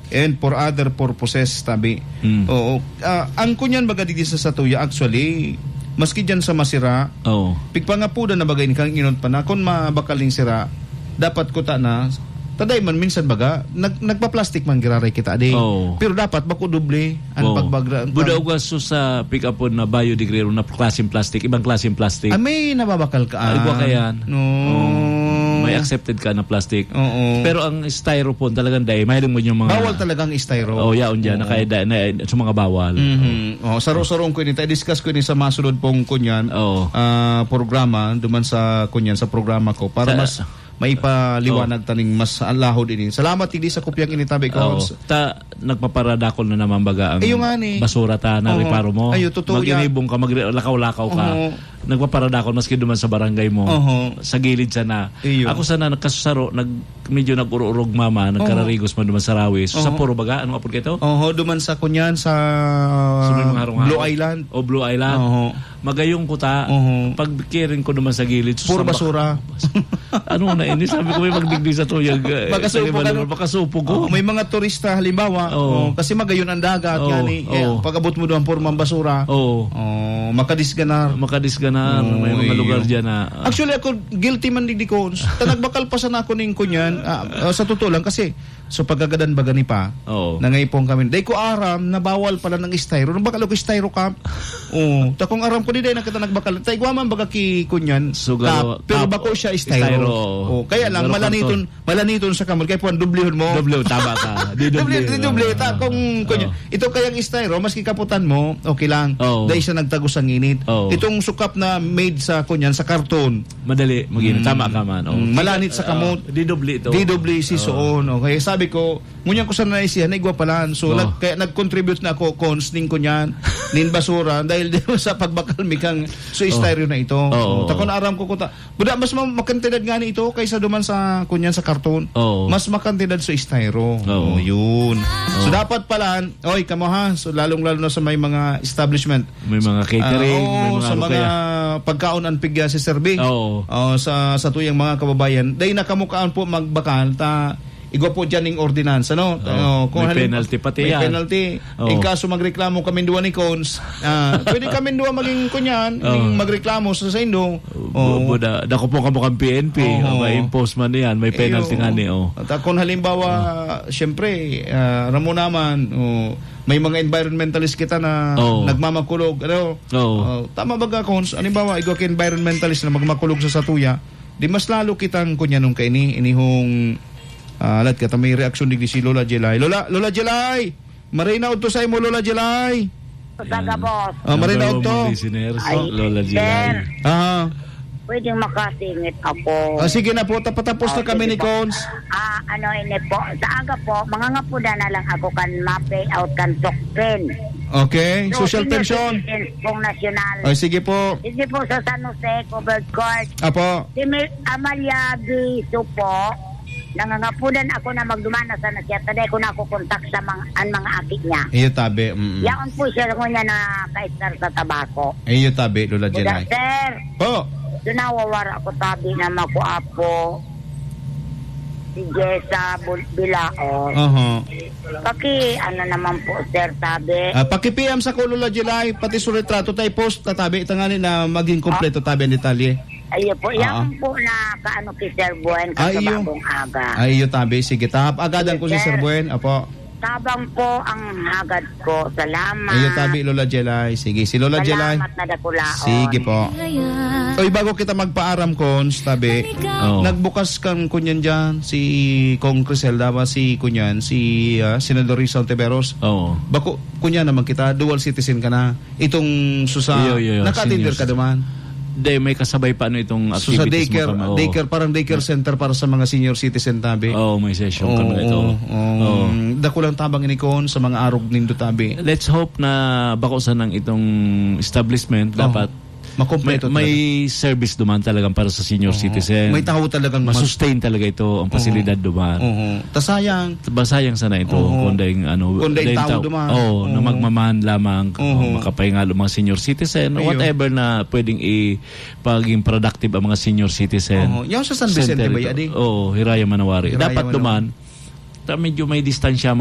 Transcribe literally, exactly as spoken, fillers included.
And for other purposes, tabi. Mm. Oo. Ah, ang kunyan baga digdi sa satuya, actually, maski dyan sa masira, Oo. pigpangapudan na baga ini kan inot pa na, kun mabakal ning sira, dapat kuta na, taday man minsan baga, nag-, nagpa-plastic man giraray kita, di. Oo. Pero dapat bako doble ang Oo. pagbagra-, Buda pag- ugas so sa pick-up po na biodegradable na klaseng plastic, ibang klaseng plastic. Ah, may nababakal ka, Ay, buwa ah. ka yan. No. Oo. May accepted ka na plastic. Oo. Pero ang styrofoam talagang dai, mahiling mo yung mga Bawal talagang styro. Oh, yaon dyan. Oo. Nakaya-, na, sa mga bawal. Mhm. Oh, saro-sarong ko ini. Tayo discuss ko ini sa masunod pong kunyan, Oo. ah, programa, duman sa kunyan, sa programa ko. Para Sa mas maipaliwanag Oo. taning mas alahod ini. Salamat, hindi sa kopyang ini, tabi ko. Oo. Ta, nagpaparadakol na naman baga ang Ayun nga ni. basura ta na Oo. reparo mo. Ayo, totoo yan. Mag-inibong ka, maglakaw-lakaw ka. Oo. Nagpaparadakol maski duman sa barangay mo. Oho. Sa gilid sana. Iyo. Ako sana nagkasusaro, nag-, medyo nag-ururog mama, Oho. nagkararigos man duman sa Rawis. Sa Oho. Puro Baga, anong apod ka ito? Oho, duman sa kunyan, sa Sa may mga harong-harong. Blue Island. O Blue Island. Oho. Magayong kuta, Oho. pag kiring ko duman sa gilid, Puro susamba. basura. Ano na ini? Sabi ko, "May magdigdi sa tuyag, eh, Makasupog, sa ano? Makasupog ko." Oh, may mga turista, halimbawa, Oo. oh, kasi magayon ang dagat, Oo, yan eh. Kaya oo. pag-abot mo doon, puro mga basura. Oo. Oh, makadisganar. Makadisganar. Oo, May mga iyo. lugar dyan na, ah. Actually, ako, guilty man digdi ko. Ta nagbakal pa sana ako ning kunyan. Ah, ah, sa totoo lang, kasi, so, pagkagadan baga ni pa, Oo. nangaipon kami. Dai ko aram na bawal pala ng styro. Nagbakal ako styro cup. Oo. Ta kung aram ko, di dai na kita nagbakal. Ta igwa man baga ki kunyan, So, cup. galo-, Pero cup, bako siya styro. styro. Oh, kaya lang, Pero malaniton, kanto. malaniton sa kamot. Kaya puwan, dublihon mo. Doble, tama ka. Di Doble, doble, di doble. ah, Ta, ah, kung, ah, kung, ah. ito kayang styro, maski kaputan mo, okay lang. Oo. Dahil siya nagtagos ang init. Oo. Itong sukap na made sa, kunyan, sa karton. Madali, mag-init. Mm. Tama ka man. Oo. Mm, malanit sa Ah, kamot. di doble ito. Di doble si Oo. Soon. Okay, sabi ko, ngunyan ko sana naisihan, naigwa pala. So, Oo. nag-, kaya nag-contribute na ako, cons, ning kunyan, nin basura, dahil di sa pagbakal mi kang so Oo. styro na ito. Oo. So, ta kung aram ko, kuta, Buda, mas ma-, makantidad nga ni ito kaysa duman sa, kunyan, sa karton. Oo. Mas makantidad sa styro. Oo. Oh, yun. So, Oo. dapat pala, oy, kamo ha, so, lalong-lalo na sa may mga establishment. May mga catering, Ah, oo, may mga sa ano mga kaya. pagkaon ang pigya si Sir B. Oo. Oh, sa, sa tuyang mga kababayan. Dahil na kamo kaan po magbakal, ta, igwa po dyan ning ordinansa, no? Oo. Oh, kung May halim-, penalty pati may yan. penalty. Oo. In kaso magreklamo kami duwa ni Cons, ah, pwede kami duwa maging kunyan, Oo. ning magreklamo sa saindo. Bu-, Oo. buda, dako po kamo kang P N P. Oo. May impose man yan, may penalty Iyo. nga ni, oh. At kung halimbawa, Oo. siyempre, ah, aram mo naman, oh, may mga environmentalist kita na Oo. nagmamakulog, ano? Oo. Oh, tama ba ka, Cons? Halimbawa, igwa ka environmentalist na magmakulog sa satuya, di mas lalo kitang kunyan nung kaini, inihong, ah, alat ka, ta may reaksyon digdi si Lola Jelay. Lola, Lola Jelay! Maray na udto sa imo, Lola Jelay. Sa Yan. gabos. Ah, maray na Number one udto. mong listeners, Ay, Lola sir. Jelay. Ah. Pwedeng makasingit ako. Ah, sige na po, tapatapos na Okay, kami ni sige po. Cons. Ah, ano ini po, sa aga po, mangangapuda na lang ako kan ma-pay out kan sukpen. Okay, So, social senior pension. citizens pong nasyonal. Ay, sige po. Sige po, sa San Jose, covered court. Apo. Si Mil-, Amalia Biso po, nangangapudan ako na magduman na sana siya, taday ko nakukontak sa mga, ang mga aki niya. Iyo tabi, mm. Yaon po siya, ngunyan na kaistar sa tabako. Iyo tabi, Lola Buda, Jelay. sir. Po. Ito nawawara ko tabi na makuapo. Si Jessa Bul-, Bilaon. Aha. Paki, ano naman po, sir, tabi. Ah, paki-P M sa ko, Lola Jelay, pati sa retrato, tayo post, tatabi, itangani na maging kompleto, tabi ang detalye. Ayun po, Ah. yan po na kaano kay Sir Buen, Ah, iyo. kasabagong aga. Ay, iyo, tabi. Sige, tahap agadan Sige, ko si Sir sir. Buen. Apo. Tabang po ang hagad ko. Salamat. Iyo, tabi, Lola Jelay. Sige, si Lola Jelay. Salamat na dakulaon. Sige po. Oy, bago kita magpaaram, Cons, tabi, Oo. nagbukas kang kunyan dyan, si Cong Criselda ba, si kunyan, si, ah, Senador Risa Ontiveros. Oo. Bako, kunyan naman kita, dual citizen ka na. Itong susa, Iyo, iyo, iyo. naka-attender Seniors. ka duman? Hindi, may kasabay pa ano itong So, sa activities mo daycare, kami, oo. daycare, parang daycare center para sa mga senior citizen, tabi. Oo, may session Oo, kami nito. oo, oo. Oo. Dakulang tabang ini kon sa mga arog nindo, tabi. Let's hope na bako sanang itong establishment, Oo. dapat Makompleto may, may talaga. service duman talagang para sa senior Oo. citizen. May tao talagang mag- Ma-sustain talaga ito, ang Oo. pasilidad duman. Oo. Ta sayang. Ba, sayang sana ito, Oo. kung dahil, ano, Kung dahil dahil tao tao, duman. oo, na Oo. magmamahan lamang, Oo. makapahinga ang mga senior citizen, Ayun. whatever na pwedeng i-, paging productive ang mga senior citizen. Oo. Yung sa San Vicente Center ba ito. yan, eh? Oo, Hiraya Manawari. Hiraya Dapat Manawari. duman, ta-, medyo may distansya